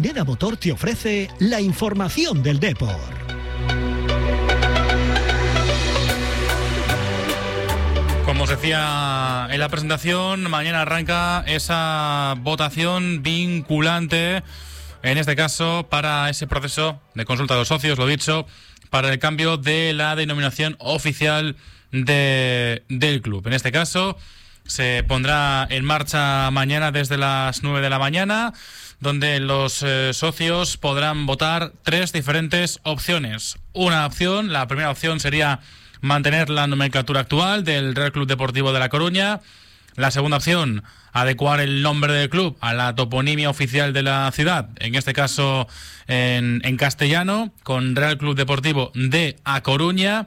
Marineda Motor te ofrece la información del Depor. Como os decía en la presentación, mañana arranca esa votación vinculante, en este caso para ese proceso de consulta de los socios, lo dicho, para el cambio de la denominación oficial del club. En este caso se pondrá en marcha mañana desde las 9 de la mañana, donde los socios podrán votar 3 diferentes opciones. Una opción, la primera opción sería mantener la nomenclatura actual del Real Club Deportivo de La Coruña. La segunda opción, adecuar el nombre del club a la toponimia oficial de la ciudad, en este caso en castellano, con Real Club Deportivo de A Coruña,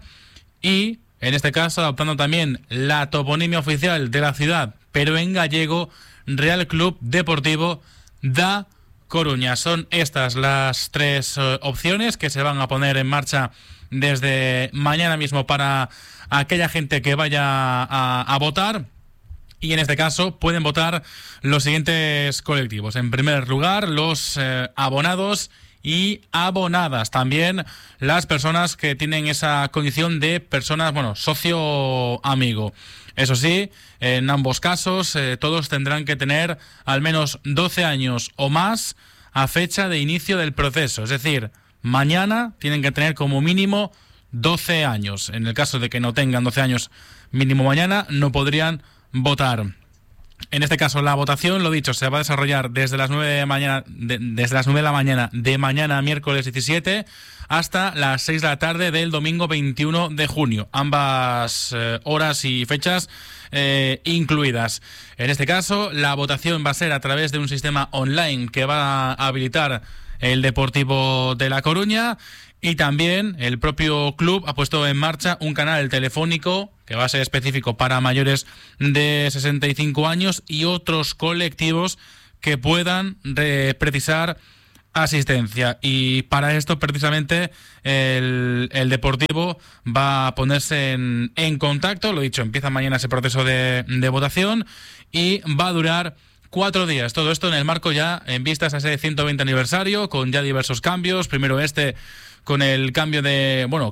y en este caso adoptando también la toponimia oficial de la ciudad, pero en gallego, Real Club Deportivo da Coruña. Son estas las 3 opciones que se van a poner en marcha desde mañana mismo para aquella gente que vaya a votar. Y en este caso pueden votar los siguientes colectivos. En primer lugar, los abonados y abonadas. También las personas que tienen esa condición de personas, socio amigo. Eso sí, en ambos casos todos tendrán que tener al menos 12 años o más a fecha de inicio del proceso. Es decir, mañana tienen que tener como mínimo 12 años. En el caso de que no tengan 12 años mínimo mañana, no podrían votar. En este caso, la votación, lo dicho, se va a desarrollar desde las 9 de mañana, desde las 9 de la mañana de mañana, miércoles 17, hasta las 6 de la tarde del domingo 21 de junio. Ambas horas y fechas incluidas. En este caso, la votación va a ser a través de un sistema online que va a habilitar el Deportivo de La Coruña, y también el propio club ha puesto en marcha un canal telefónico que va a ser específico para mayores de 65 años y otros colectivos que puedan precisar asistencia. Y para esto, precisamente, el Deportivo va a ponerse en contacto. Lo dicho, empieza mañana ese proceso de votación y va a durar 4 días. Todo esto en el marco ya en vistas a ese 120 aniversario, con ya diversos cambios. Primero con el cambio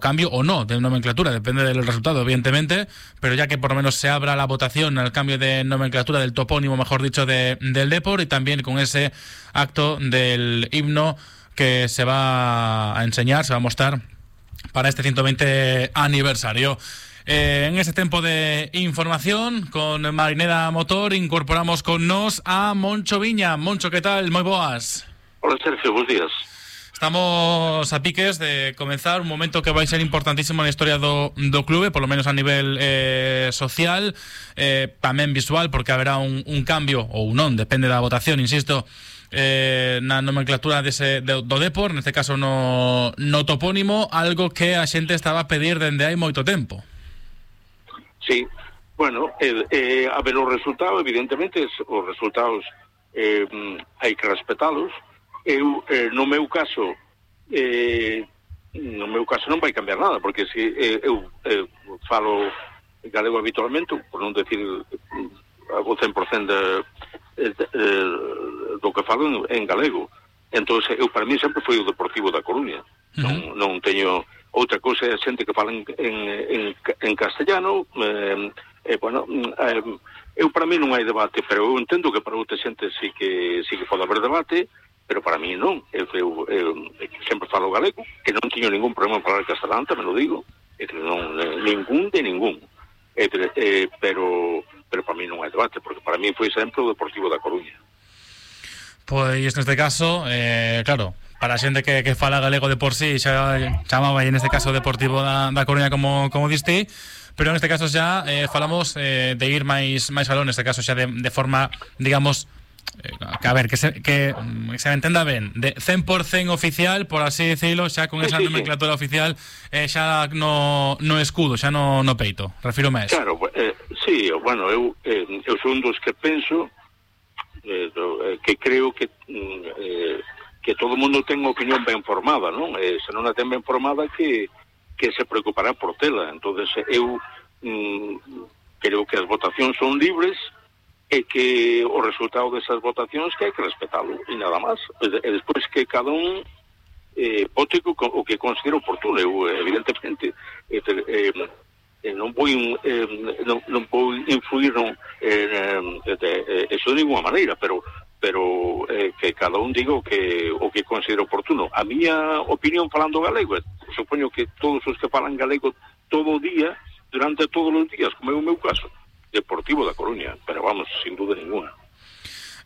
cambio o no de nomenclatura, depende del resultado, evidentemente, pero ya que por lo menos se abra la votación al cambio de nomenclatura del topónimo, mejor dicho, del Depor, y también con ese acto del himno que se va a enseñar, se va a mostrar para este 120 aniversario. En este tiempo de información con Marineda Motor incorporamos con nos a Moncho Viña. Moncho, ¿qué tal? Moi boas. Hola, Sergio, buenos días. Estamos a piques de comenzar un momento que vai ser importantísimo na historia do clube, por lo menos a nivel social, tamén visual, porque haberá un cambio, ou non, depende da votación, insisto, na nomenclatura do Depor, neste caso no topónimo, algo que a xente estaba a pedir dende hai moito tempo. Sí, bueno, a ver, os resultados, evidentemente, os resultados hai que respetalos. Eu, no meu caso non vai cambiar nada, porque se eu falo galego habitualmente, por non decir o 100% do que falo en galego. Entón, eu para mí sempre foi o Deportivo da Coruña. Non teño outra cousa, a xente que fala en castellano, eu para mí non hai debate, pero eu entendo que para outra xente sí que pode haber debate, pero para mí non. Eu sempre falo galego, que non teño ningún problema en falar castelán, tamén lo digo, ningún, pero para mí non hai debate, porque para mí foi sempre o Deportivo da Coruña. Pois neste caso, claro, para a xente que fala galego de por sí xa chamaba, en este caso, Deportivo da Coruña, como diste, pero en este caso xa falamos de ir máis aló, neste caso xa de forma, digamos, que a ver, que se entenda ben, de 100% oficial, por así decirlo, xa con esa nomenclatura oficial, xa no escudo, xa no peito, refírome a eso. Claro, sí, bueno, eu son dos que penso que creo que todo o mundo ten unha opinión ben formada, non? Se non a ten ben formada, que se preocupará por tela. Entonces eu creo que as votacións son libres, e que o resultado desas votacións que hai que respetalo, e nada máis. E despois que cada un vote o que considera oportuno. Eu, evidentemente, non vou influir eso de ninguna maneira, pero que cada un diga o que considera oportuno. A miña opinión falando galego, supoño que todos os que falan galego todo o día, durante todos os días, como é o meu caso, Deportivo da Coruña, pero vamos, sin duda ninguna.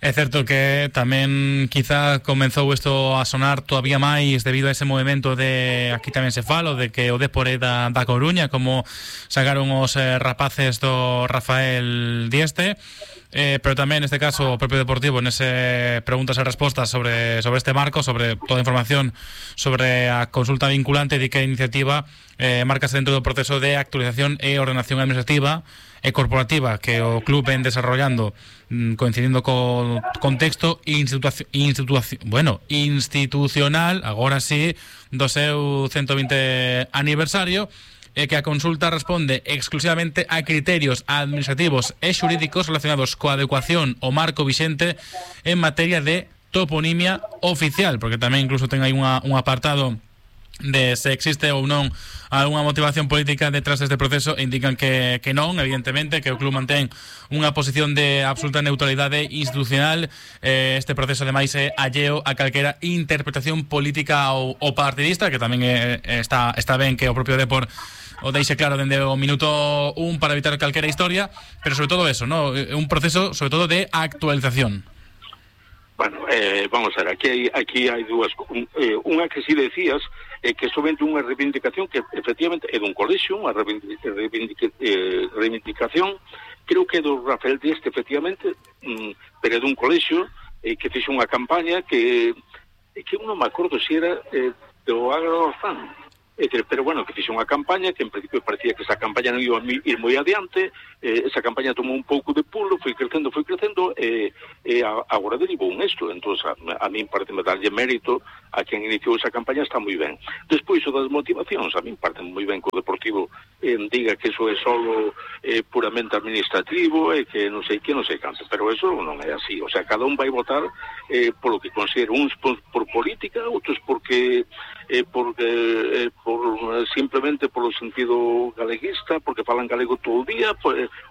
É certo que tamén quizá comenzou isto a sonar todavía máis debido a ese movimento de, aquí tamén se fala, de que o Depor é da Coruña, como sacaron os rapaces do Rafael Dieste, pero tamén neste caso o propio Deportivo nese preguntas e respostas sobre este marco, sobre toda a información sobre a consulta vinculante, de que a iniciativa marcase dentro do proceso de actualización e ordenación administrativa e corporativa que o club ven desarrollando, coincidindo co contexto institucional, agora sí, do seu 120 aniversario, e que a consulta responde exclusivamente a criterios administrativos e xurídicos relacionados coa adecuación ao marco vixente en materia de toponimia oficial, porque tamén incluso ten aí un apartado de se existe ou non algunha motivación política detrás deste proceso, e indican que non, evidentemente, que o club mantén unha posición de absoluta neutralidade institucional. Este proceso ademais é alleo a calquera interpretación política ou partidista, que tamén está ben que o propio Depor o deixe claro dende o minuto 1 para evitar calquera historia, pero sobre todo eso, ¿no? Un proceso sobre todo de actualización. Bueno, vamos a ver, aquí hai dúas, unha que si decías, que somente unha reivindicación que efectivamente é dun colexio, unha reivindicación, creo que é do Rafael Dieste, efectivamente, pero é dun colexio que fixe unha campaña que eu non me acordo se era do Agrorzán, pero bueno, que fixe unha campaña que en principio parecía que esa campaña non iba a ir moi adiante. Esa campaña tomou un pouco de pulo, foi crecendo, e agora derivou un isto. Entón, a min parece-me darlle mérito a quen iniciou esa campaña, está moi ben. Despois, o das motivacións, a min parece moi ben que o Deportivo diga que eso é solo puramente administrativo, e que non sei canto, pero eso non é así. O sea, cada un vai votar polo que considera, uns por política, outros porque simplemente polo sentido galeguista, porque falan galego todo o día,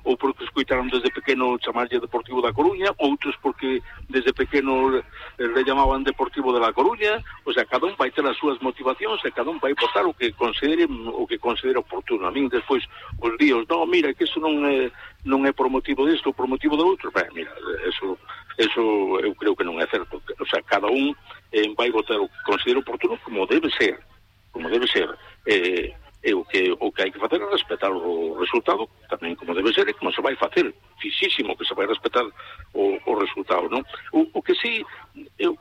ou porque escuitaron desde pequeno chamarlle Deportivo da Coruña, outros porque desde pequeno le llamaban Deportivo de la Coruña. O sea, cada un vai ter as súas motivacións e cada un vai votar o que considere oportuno. A min despois os díos, no, mira, que iso non é por motivo disto ou por motivo do outro, mira, eso eu creo que non é certo. O sea, cada un vai votar o que considere oportuno, como debe ser. O que hai que facer é respetar o resultado, tamén como debe ser, e como se vai facer, fixísimo que se vai respetar o resultado, non? O que sí eu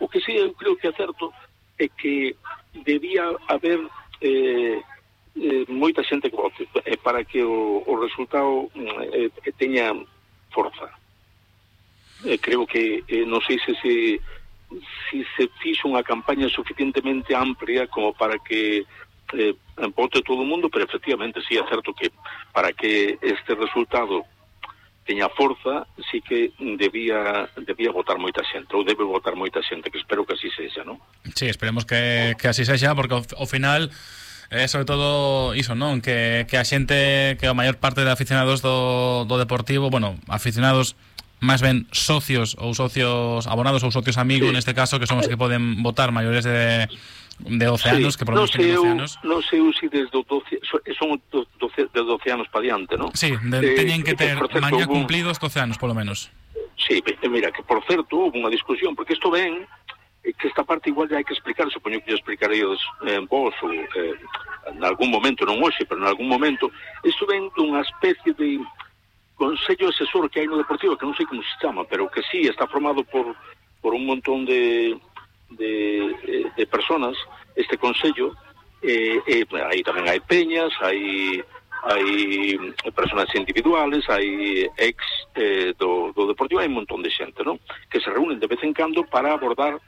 creo que é certo é que debía haber moita xente que vote para que o resultado teña forza. Creo que non sei se se fixo unha campaña suficientemente amplia como para que vote todo o mundo, pero efectivamente sí é certo que para que este resultado teña forza, sí que debía votar moita xente, ou debe votar moita xente, que espero que así sexa, non? Sí, esperemos que así sexa, porque ao final sobre todo iso, non? Que a xente, que a maior parte de aficionados do Deportivo, bueno, aficionados máis ben socios ou socios abonados ou socios amigos, neste caso, que son os que poden votar maiores de 12 anos, que por lo menos teñen 12 anos. Non sei se desde 12, son de 12 anos para diante, non? Sí, teñen que ter mañá cumplidos 12 anos, polo menos. Sí, mira, que por certo, houve unha discusión, porque isto ven, que esta parte igual já hai que explicar, supoño que explicareis vos, ou en algún momento, non hoxe, pero en algún momento, isto ven dunha especie de consello asesor que hai no Deportivo, que non sei como se chama, pero que sí está formado por un montón de personas, este consello, aí tamén hai peñas, hai personas individuales, hai ex do Deportivo, hai un montón de xente, non? Que se reúnen de vez en cando para abordar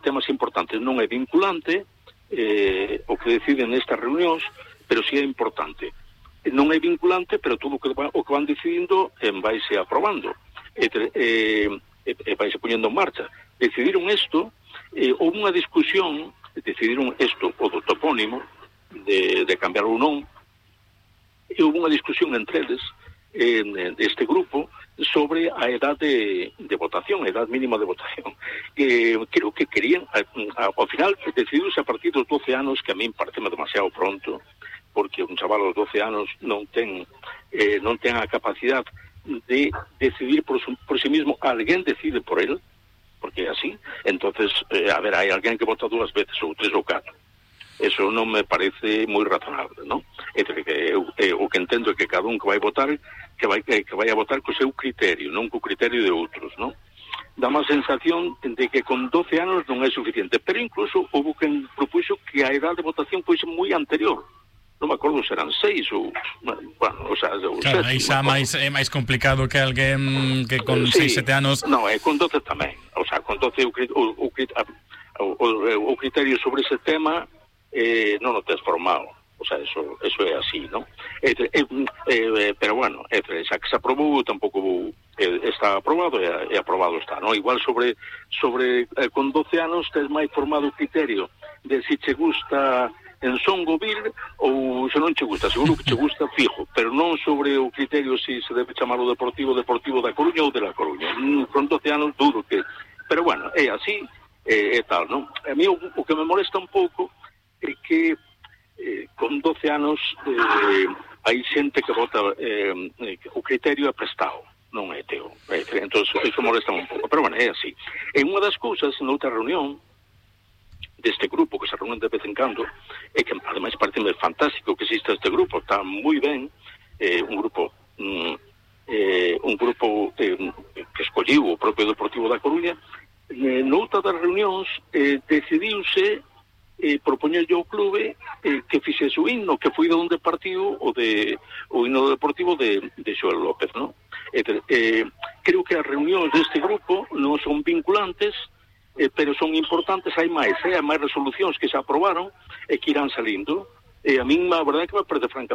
temas importantes. Non é vinculante o que deciden nestas reunións, pero sí é importante. Non é vinculante, pero todo o que van decidindo vaise aprobando. vai se poñendo en marcha. Decidiron isto, houve unha discusión, decidiron isto, o do topónimo, de cambiar ou non, e houve unha discusión entre eles, deste grupo, sobre a edad de votación, a edad mínima de votación. Creo que querían, ao final, decidiuse a partir dos 12 anos, que a min parece demasiado pronto, porque un chaval aos 12 anos non ten a capacidade de decidir por sí mismo. Alguén decide por él, porque é así. Entonces, a ver, hai alguén que vota 2 veces, ou 3 ou 4. Eso non me parece moi razonable, non? O que entendo é que cada un que vai votar, que vai a votar co seu criterio, non co criterio de outros, non? Dá má sensación de que con 12 anos non é suficiente, pero incluso houve quen propuxo que a edad de votación foise moi anterior. Non me acordo se eran 6 ou... Bueno, o sea... Claro, aí xa é máis complicado que alguén que con 6, 7 anos... Non, con 12 tamén. O sea, con 12 o criterio sobre ese tema non o tes formado. O sea, eso é así, non? Pero bueno, xa que se aprobou, tampouco está aprobado e aprobado está, non? Igual sobre con 12 anos tes máis formado o criterio de si che gusta en Songovil ou se non che gusta, seguro que che gusta fijo, pero non sobre o criterio si se debe chamar o Deportivo da Coruña ou de La Coruña. Con 12 anos duro que... Pero bueno, é así, é tal, non? A mí o que me molesta un pouco é que con 12 anos hai xente que vota o criterio é prestado, non é teo. Entón, iso molesta un pouco, pero bueno, é así. En unha das cousas, noutra reunión deste grupo que se reúnen de vez en cando, e que ademais parece fantástico que exista este grupo, está moi ben, un grupo que escolliu o propio Deportivo da Coruña. Noutra das reunións decidiuse propoñerlle ao clube que fixese o himno, que foi de onde partiu o himno deportivo de Xoel López, non? Creo que as reunións deste grupo non son vinculantes, pero son importantes. Hai máis resolucións que se aprobaron e que irán salindo. A min a verdade é que me parece francamente